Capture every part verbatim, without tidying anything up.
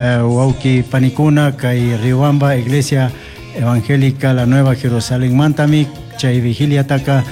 Wawki panikuna kay Riobamba Iglesia Evangélica La Nueva Jerusalén mantami chay vigiliataka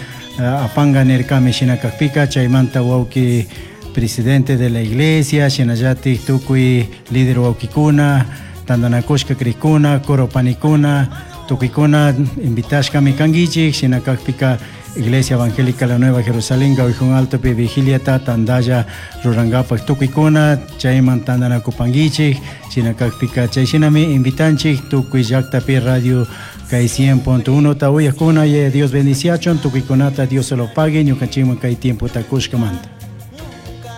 apanga nirkami shina kakpika chaymanta wawki presidente de la iglesia shinallatik tukuy líder wawkikuna tantanakushka krikuna coro panikuna tukuykuna invitashkami kankichik shina kakpika Iglesia Evangélica La Nueva Jerusalén Gauijón Altopi vigiliata tandalla rurankapak tukuykuna chayman tantanakupankichik shina kakpika chay shinami invitanchik tukuy llaktapi radio kay cien punto uno ta uyakuna y Dios bendiciachun tukuykunata Dios se lo pague ñukanchikman kay tiempota kushkamanta.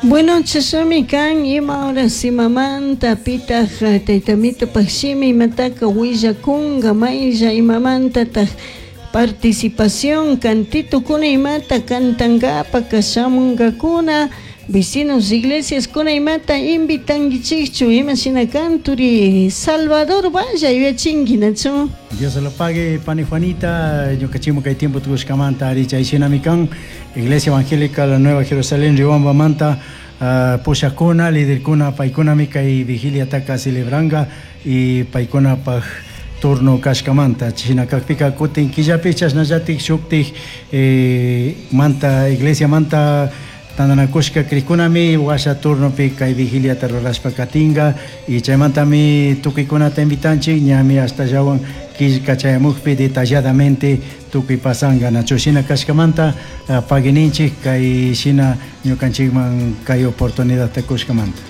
Bueno, chashnami kan ima horas imamanta pitaq taytamito shimi imataka willakunka maylla imamantataq participación cantitukuna imata kantankapak shamunkakuna vecinos iglesias kuna imata invitankichikchu ima shina kan turi Salvador Valla yuyachinki nachu. Dios se lo pague, pani Juanita, ñukanchikman kay tiempo tukushkamanta ari chay shinami kan Iglesia Evangélica La Nueva Jerusalén Riobamba manta uh, pushakuna liderkuna paykunami kay vigiliataka celebranka y paykunapaj turno kashkamanta shina kakpika kutin killapi chashnallatik shuktik eh, manta iglesia manta tantanakushka krikkunami washa turnopi kay vigiliata rurashpa katinka y chaymantami tukuykunata invitanchik ñami hasta llawan killka chayamukpi detalladamente tukuy pasanka nachu shina kashkamanta uh, paguininchik kay shina ñukanchikman kay oportunidadta kushkamanta.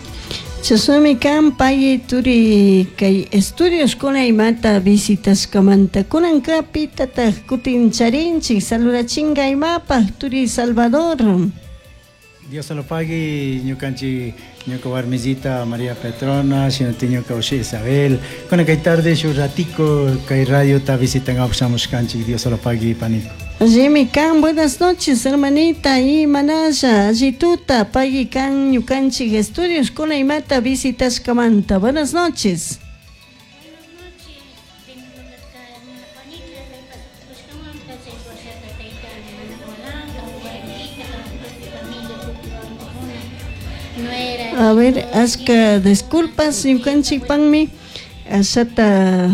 Chashnami kan pay turi kay estudios kuna imata visitashkamanta kunanka pitataq kutin charinchik saludachinka imapaq turi Salvador. Dios se lo pague ñukanchik ñuka warmisita María Petrona shinati ñuka ushi Isabel kuna kay tarde shuk ratico kay radiota visitan shamushkanchik Dios se lo pague paniko. Jimmy kan, buenas noches hermanita y manaya allituta pagui kan ñukanchik estudios kuna imata visitashkamanta. Buenas noches. Buenas noches, tengo hermana Juanita, kushkamanta chay washata tayta Ana warmita, familia nuera. A ver, aska disculpas ñukanchik panmi ashata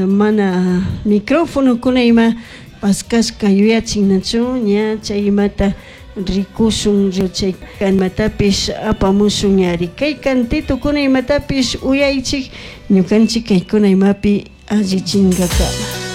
mana micrófono kuna ima paskashka yuyachin nachu ña chay imata rikushun chay imatapish apamushun ñari kay cantito kuna imatapish uyaychik ñukanchik kaykuna imapi allichinkakama.